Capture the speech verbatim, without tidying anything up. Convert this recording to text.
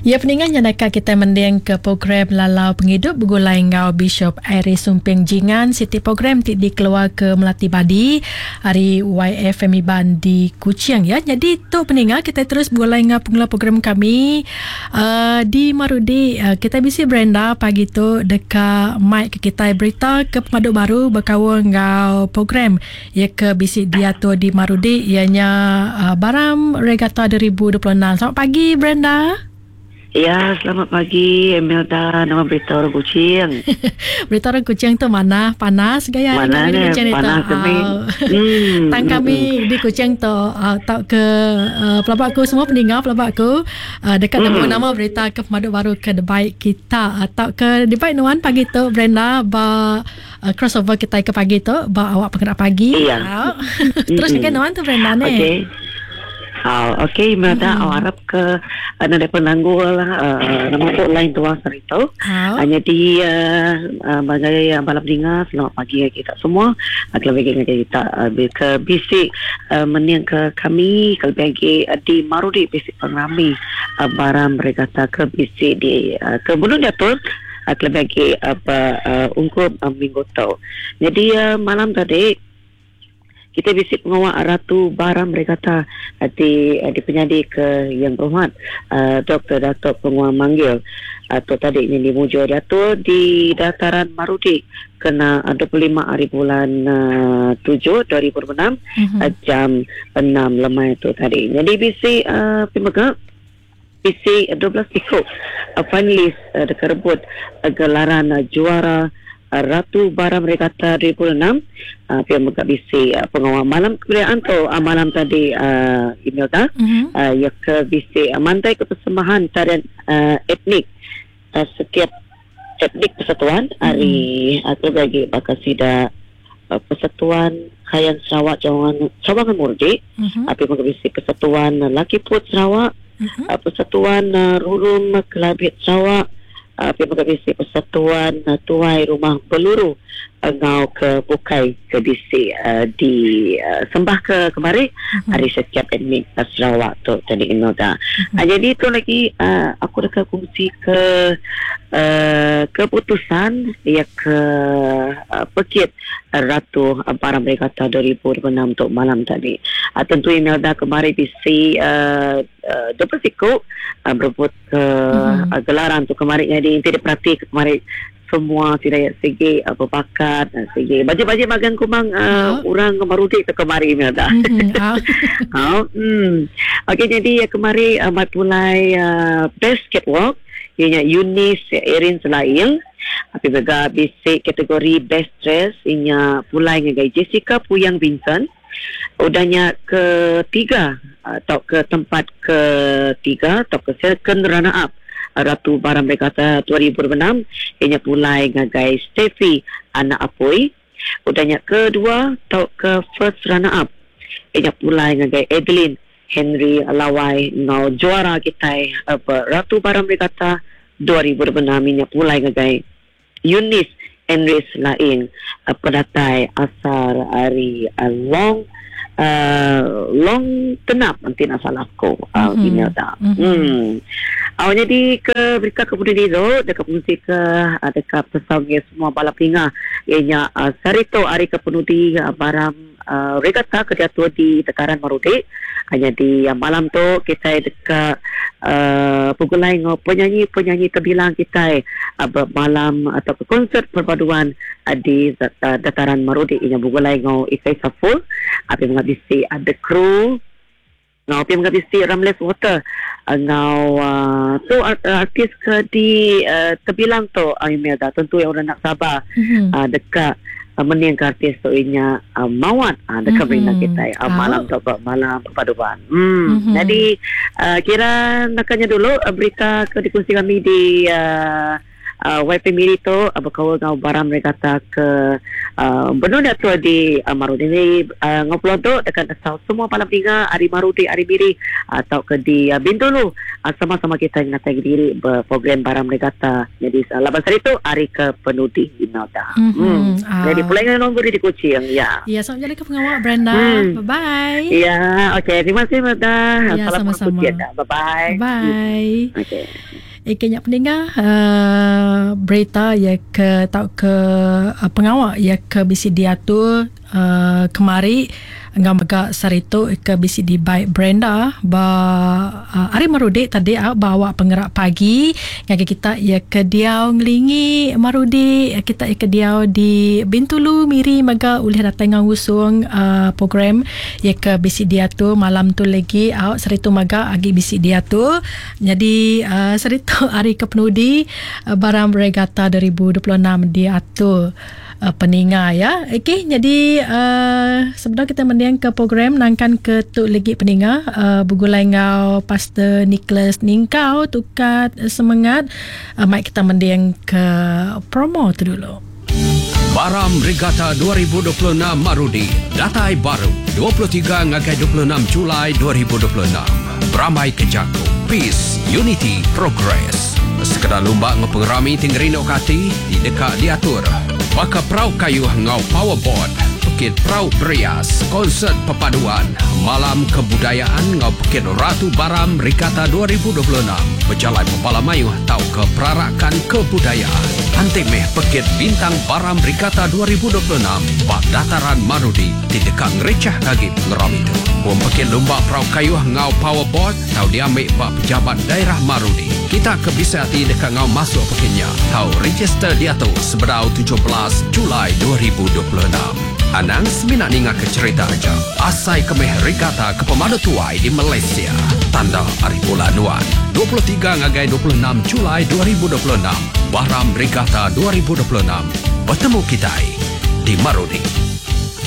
Ya peningan nyadaka kita mending ke program Lalau Pengidup Begulai Enggau Bishop Iris Sumping Jingan, siti program ti dikeluar ke Melati Badi ari Y F M Iban di Kuching ya. Jadi tu peningan kita terus begulai enggau pengeluar program kami uh, di Marudi. Uh, kita bisi Brenda pagi tu deka mic ke kita berita ke pemadu baru berkaul enggau program ya ke bisi diatur di Marudi ianya uh, Baram Regatta dua ribu dua puluh enam. Selamat pagi Brenda. Ya, selamat pagi Imelda. Nama berita orang Kuching. Berita orang Kuching tu mana? Panas gaya mana kami di Kuching panas itu. Kami. Hmm. Tang kami di Kuching tu uh, tak ke uh, pelabak aku semua pendengar pelabak aku uh, dekat hmm. nama berita ke pemadu baru ke debaik kita atau uh, ke debaik nuan pagi tu Brenda ba uh, crossover kita ke pagi tu ba awak penggerak pagi. Iya. Terus dengan nuan tu Brenda ni. Okey. Oh, okey, Imelda, mm-hmm. awak harap ke uh, ada penanggul uh, nama tu lain tuan serito. Oh. Hanya di uh, uh, bagai uh, balap dengar, selamat pagi kita semua. Uh, kalau bagi kita uh, ke bisik uh, meniang ke kami kalau bagi uh, di Marudi bisik pengrami uh, Baram Regatta ke bisik di uh, ke Gunung Datuk. Uh, kalau bagi apa uh, ungkup uh, minggu tu. Jadi uh, malam tadi kita bisik pengawal Ratu Baram Regatta di di penyadi ke Yang Berhormat uh, Doktor Datuk Penguang Manggil atau tadi ini di Mujo Datuk di dataran Marudi kena dua puluh lima hari bulan uh, tujuh dua ribu dua puluh enam mm-hmm. uh, jam enam lemai tu tadi. Jadi bisik uh, pemegak bisik dua belas ikut uh, finalis uh, dekat rebut uh, gelaran uh, juara Ratu Baram Regatta dua ribu enam uh, pihak megak bisi uh, pengawal malam kemudian tu uh, malam tadi uh, Imelda mm-hmm. uh, ya ke bisi uh, mantai ke persembahan tarian uh, etnik uh, setiap etnik persatuan hari mm-hmm. atau bagi bakal sida uh, persatuan Kayan Sarawak Cawangan Cawangan Murdi mm-hmm. uh, pihak megak bisi persatuan uh, Laki Put Sarawak mm-hmm. uh, persatuan uh, Rurum Kelabit Sarawak Uh, pihak P C Persatuan uh, Tuai Rumah Peluru uh, ngau ke Bukai ke B C uh, di uh, sembah ke kemari mm-hmm. hari setiap etnik uh, Sarawak tu tadi Imelda. Mm-hmm. Uh, jadi itu lagi uh, aku dekat kongsi ke uh, keputusan ya ke uh, pekit uh, Ratu uh, Baram Regatta dua ribu dua puluh enam untuk malam tadi. Uh, tentu Imelda kemari B C uh, uh, dua puluh siku uh, berebut ke mm-hmm. uh, gelaran tu kemarin. Jadi tidak perhati kemarin semua tidak segi uh, berbakat segi baju-baju magang kumang uh, oh. orang Marudi ke kemari Imelda. Mm-hmm. Oh. Oh, hmm. Okey, jadi uh, kemari uh, matulai uh, best catwalk ianya Eunice Erin Selaing. Tapi juga basic kategori best dress ianya pulai dengan Jessica Puyang Vincent. Udahnya ketiga atau ke tempat ketiga atau ke second runner up Ratu Baram Regatta dua ribu dua puluh enam ianya pulai ngagai Steffi Anak Apoi. Udahnya kedua atau ke first runner up ianya pulai ngagai Adeline Henry Lawai ngau juara kita apa Ratu Baram Regatta dua ribu dua puluh enam ianya pulai ngagai Eunice Henry Laing pedatai asal ari uh, Long uh, Long Tenap nanti nak salah aku uh, mm-hmm. Imelda. Mm-hmm. Hmm. Awak jadi ke berita kemudian itu dekat fungsi ke uh, dekat pesawat semua balap pinga ianya uh, Sarito hari kepenudi uh, Baram uh, Regatta kejatuhan di Tekaran Marudi. Hanya di uh, malam tu kita dekat uh, pugulai ngau penyanyi-penyanyi terbilang kita uh, bermalam atau ke konsert perpaduan uh, di uh, Dataran Marudi ianya pugulai ngau Ikai Saful api menghabisi ada kru ngau api menghabisi Ramles Water ngau uh, tu artis ke di uh, terbilang tu uh, Imelda tentu yang orang nak sabar mm-hmm. uh, dekat uh, meniang artis tu inya uh, Mawat uh, dekat mm-hmm. mm-hmm. kita uh, malam tu malam perpaduan. Hmm. Mm-hmm. Jadi uh, kira nakanya dulu uh, berita ke dikongsi kami di uh, uh, Y P Miri tu uh, berkaul ngau Baram Regatta ke uh, benar tu di uh, Marudi ni uh, ngobrol tu dekat asal semua malam tiga hari Marudi hari Miri atau ke di uh, Bintulu uh, sama-sama kita ngatai diri berprogram Baram Regatta. Jadi uh, laban sari tu hari ke penudi Imelda. Mm-hmm. Hmm. Ah. Jadi pulang dengan nombor di Kuching ya. Ya, selamat jalan ke pengawal Brenda. Hmm. Bye bye. Ya, okey. Terima kasih Imelda. Ya, sama-sama. Bye bye. Bye. Okey. Eke nyak pendengar uh, berita ya ke tau ke uh, pengawal ya ke bisi diatur uh, kemari ngau mega sarito ke bisi di by Brenda ba uh, hari Marudi tadi uh, bawa penggerak pagi ngagi kita ya ke diau ngelingi Marudi kita ya ke diau di Bintulu Miri mega ulih datang ngau usung uh, program ya ke bisi diatur malam tu lagi uh, sarito mega agi bisi diatur. Jadi uh, sarito hari ke penudi uh, Baram Regatta dua ribu dua puluh enam diatur uh, peninga ya. Okey, jadi uh, sebenarnya kita mendiang ke program nangkan ke tu lagi peninga uh, bergulai ngau Pastor Nicholas Ningkau tukat semangat uh, mai kita mendiang ke promo tu dulu. Baram Regatta dua ribu dua puluh enam Marudi datai baru dua puluh tiga ngagai dua puluh enam Julai dua ribu dua puluh enam. Beramai kejaku Peace, Unity, Progress. Sekedar lumba ngepengerami tinggerino kati di dekat diatur. Baka perau kayu ngau powerboard, Pekit Perau Berias, konsert perpaduan, malam kebudayaan ngau Pekit Ratu Baram Regatta dua ribu dua puluh enam. Berjalan Pepala Mayuh tau ke perarakan kebudayaan. Antik meh Pekit Bintang Baram Regatta dua ribu dua puluh enam bak dataran Marudi di dekat ngerecah kaki pengeram itu. Bom Pekit Lumba Perau Kayuh ngau powerboard tau diambil bak pejabat daerah Marudi. Kita kebisa hati dekat ngau masuk pekitnya. Tau register dia tu seberau tujuh belas Julai dua ribu dua puluh enam. Anang seminat ninga ke cerita aja. Asai kemeh regatta ke pemadu tuai di Malaysia. Tanda hari bulan Nuan. dua puluh tiga ngagai dua puluh enam Julai dua ribu dua puluh enam. Baram Regatta dua ribu dua puluh enam. Bertemu kita di Marudi.